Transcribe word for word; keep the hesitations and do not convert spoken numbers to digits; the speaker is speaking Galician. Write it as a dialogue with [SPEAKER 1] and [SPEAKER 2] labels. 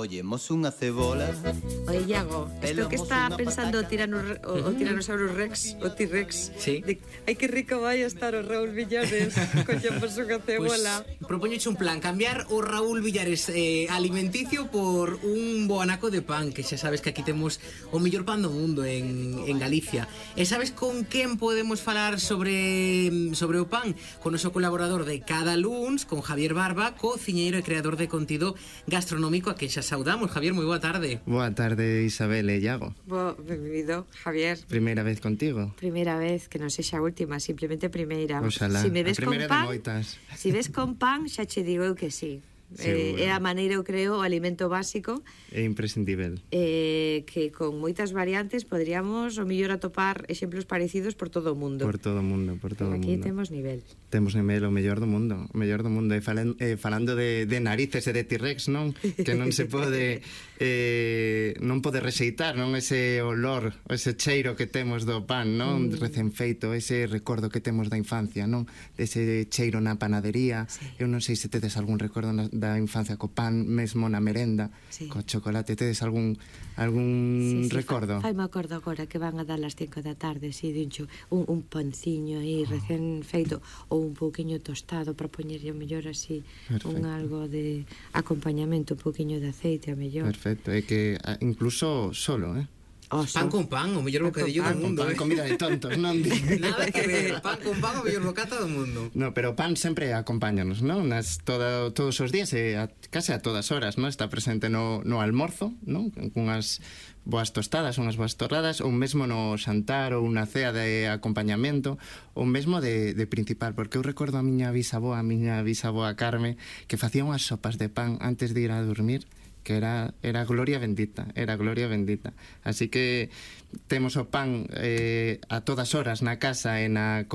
[SPEAKER 1] Collemos unha cebola.
[SPEAKER 2] Oye, Iago, esto que está pensando o, tirano, o, o Tyrannosaurus Rex, o T-Rex,
[SPEAKER 3] sí.
[SPEAKER 2] de, ai, que rico vai a estar o Raúl Villares, collemos unha cebola.
[SPEAKER 3] Pues, propoñoche un plan, cambiar o Raúl Villares eh, alimenticio por un bo anaco de pan, que xa sabes que aquí temos o mellor pan do mundo en, en Galicia. E sabes con quen podemos falar sobre, sobre o pan? Con o noso colaborador de cada luns, con Javier Barba, cociñeiro e creador de contido gastronómico, a que xa saudamos. Javier, moi boa tarde.
[SPEAKER 4] Boa tarde, Isabel e Iago.
[SPEAKER 2] Bo, benvido, Javier.
[SPEAKER 4] Primeira vez contigo.
[SPEAKER 2] Primeira vez, que non sexa a última, simplemente primeira.
[SPEAKER 4] Oxalá,
[SPEAKER 2] si me ves
[SPEAKER 4] a primeira
[SPEAKER 2] con pan,
[SPEAKER 4] de moitas.
[SPEAKER 2] Si ves con pan, xa che digo eu que sí. Eh, é a maneira, eu creo, o alimento básico
[SPEAKER 4] é imprescindível,
[SPEAKER 2] eh, que con moitas variantes podríamos o mellor atopar exemplos parecidos por todo o mundo.
[SPEAKER 4] Por todo o mundo, por todo o mundo.
[SPEAKER 2] Aquí temos nivel.
[SPEAKER 4] Temos nivel, o mellor do mundo, o mellor do mundo. E falan, eh, falando de, de narices e de T-Rex, non? Que non se pode eh, non pode rexeitar, non? Ese olor, ese cheiro que temos do pan, non? Mm. Recén feito, ese recordo que temos da infancia, non? Ese cheiro na panadería. Sí. Eu non sei se tedes algún recordo na, da infancia co pan, mesmo na merenda, sí. Co chocolate. Tedes algún algún sí, sí, recordo?
[SPEAKER 2] Fai me acordo agora que van a dar as cinco da tarde, si, dincho, un, un panciño aí recén feito, ou un pouquiño tostado para poñerlle o mellor así. Perfecto. Un algo de acompañamento, un pouquiño de aceite a mellor.
[SPEAKER 4] Perfecto, é que incluso solo, eh?
[SPEAKER 3] Oso. Pan con pan, o mellor bocadillo do mundo.
[SPEAKER 4] Pan,
[SPEAKER 3] eh?
[SPEAKER 4] comida de tontos, non?
[SPEAKER 3] Nada que ver, pan con pan, o mellor bocata do mundo.
[SPEAKER 4] No, pero pan sempre acompáñanos, non? Nas toda, todos os días, e a, case a todas horas, non? Está presente no, no almorzo, non? Cunhas boas tostadas, unhas boas torradas, ou mesmo no xantar, ou unha cea de acompañamento, ou mesmo de, de principal, porque eu recordo a miña bisaboa, a miña bisaboa Carme, que facía unhas sopas de pan antes de ir a dormir, que era, era gloria bendita, era gloria bendita. Así que temos o pan eh, a todas horas na casa e na comida.